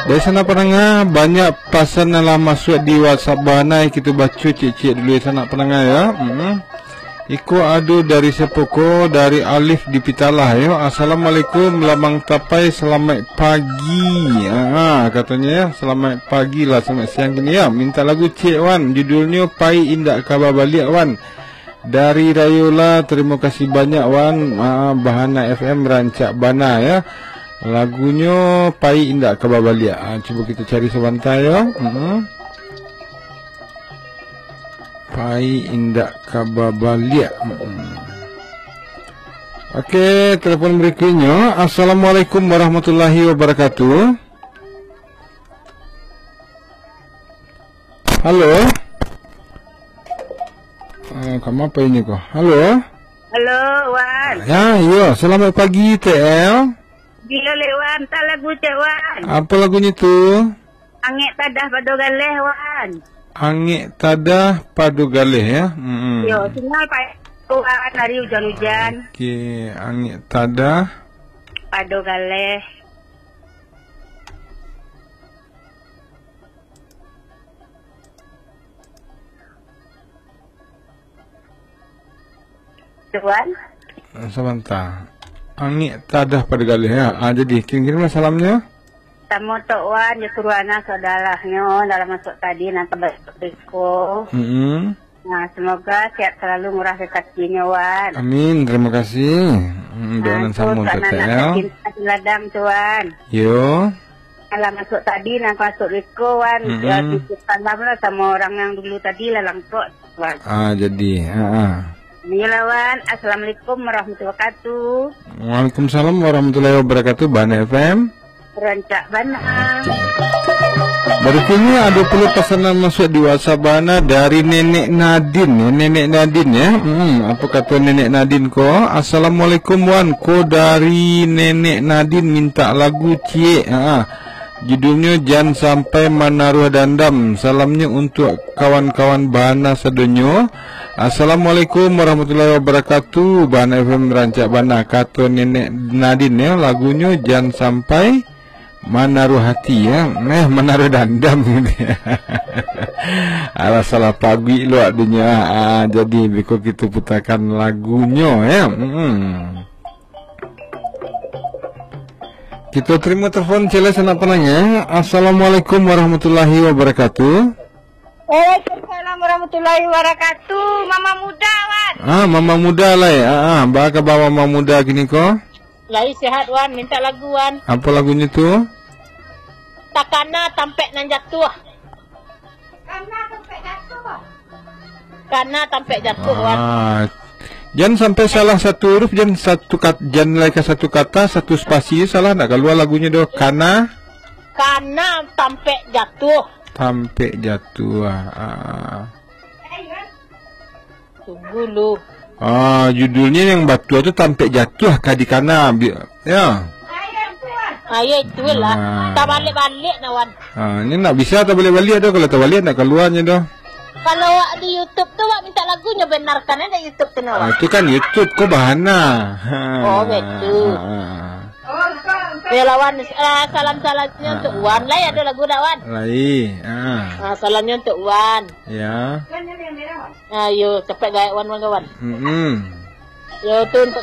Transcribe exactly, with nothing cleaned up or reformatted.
Dari sanak pandanga, banyak pasan nan lah masuak di WhatsApp Bahana, kito baco ciek-ciek dulu ya, sanak pandanga ya. Mm-mm. Iko ado dari siapo ko? Dari Alif di Pitalah yo. "Assalamualaikum, Lamang Tapai, salamaik pagi." Ah, katonyo ya, salamaik pagi lah, salamaik siang kini ya. Minta lagu ciek wan, judulnyo Pai Indak Ka Babaliak wan. Dari Rayola, terima kasih banyak wan. Ah, Bahana F M rancak bana ya. Lagunyo Pai Indak Ka Babaliak. Ah, cubo kito cari sabanta yo. Mm-mm. Pai Indak Ka Babaliak. Mm-mm. Oke, telepon berikutnyo. Assalamualaikum warahmatullahi wabarakatuh. Halo. Eh, kama apa ini ko? Halo. Halo, Wan. Ya, iyo. Selamat pagi, T L. Bilo lek, Wan, tak lagu cek, Wan. Apa lagunyo tu? Angek tadah pado galeh, Wan. Angek tadah pado galeh ya. Mm-mm. Yo, sinyal payah, Wan, hari hujan-hujan. Oke, angek tadah pado galeh. Tuan. Sabanta. Angek tadah pado galeh ya. Ah, jadi kirim-kirimlah salamnyo. Samo Tok Wan, jo Kurwana saudarahnyo dalam masuk tadi nan ka beko. Mm-mm. Nah, semoga sehat selalu, murah rezekinyo, Wan. Amin, terima kasih. Mm, doa nan samo untuk T L. Anak-anak yatim piatu ladang tu, Wan. Yo. Alah masuk tadi, nak masuk beko, Wan. Mm-mm. Ya, titip salam lah sama orang yang dulu tadi lah, langkok, Wan. Ah, jadi, ah, ah. Iyolah, Wan. Assalamualaikum warahmatullahi wabarakatuh. Waalaikumsalam warahmatullahi wabarakatuh, Bahana F M. Rancak bana. Oke. Berikutnya ada pula pesanan masuk di WhatsApp Bahana dari Nenek Nadin, ya. Nenek Nadin, ya. Hmm, apa kata Nenek Nadin ko? "Assalamualaikum, Wan. Ko dari Nenek Nadin minta lagu ciek." Ha. Judulnyo Jan Sampai Manaruah Dandam. Salamnyo untuk kawan-kawan Bahana sadonyo. "Assalamualaikum warahmatullahi wabarakatuh. Bahana F M rancak bana," kato Nenek Nadin, ya. Lagunyo Jan Sampai Manaruah Hati, ya. Eh, Manaruah Dandam. Alah, salah paguik lo adinyo. Ah, jadi beko kito putakan lagunyo, ya. Hmm. Kito terima telepon, cele sanak pananya. Assalamualaikum warahmatullahi wabarakatuh. Waalaikumsalam warahmatullahi wabarakatuh. Mama muda, Wan. Ah, mama muda lai. Ah, ah. Baa kaba mama muda kini ko? Lai sehat, Wan. Minta lagu, Wan. Apa lagunyo tu? Takana tampek nan jatuah. Takana tampek jatuah. Takana tampek jatuah, Wan. Ah, jan sampai salah satu huruf, jan satu kat-, jan lai ka satu kata, satu spasi salah, ndak kalua lagunyo doh. Kana. Kana tampek jatuah. Tampek jatuah. Ah. Tunggu lu. Ah, judulnyo yang batua tu Tampek Jatuah ka di Kana, bi-, ya. Ah, ya, itulah. Ah. Tabalik-balik nah, Wan. Ah, ini ndak bisa tabalik-balik doh. Kalau tabalik ndak kaluanyo doh. Kalau awak di YouTube tu, awak minta lagunyo, benarkan aja YouTube tu, nah, Wan. Ah, itu kan YouTube ko Bahana. Ha. Oh, betul. Ah. Ya lah, Wan, ah, salam-salamnyo untuk Wan. Lai ado lagu dak, Wan? Lai. Ah. Ah, salamnyo untuk Wan. Ya. Ayo, capek gaek Wan, Wan, kawan. Mm-mm. Yo, tu untuk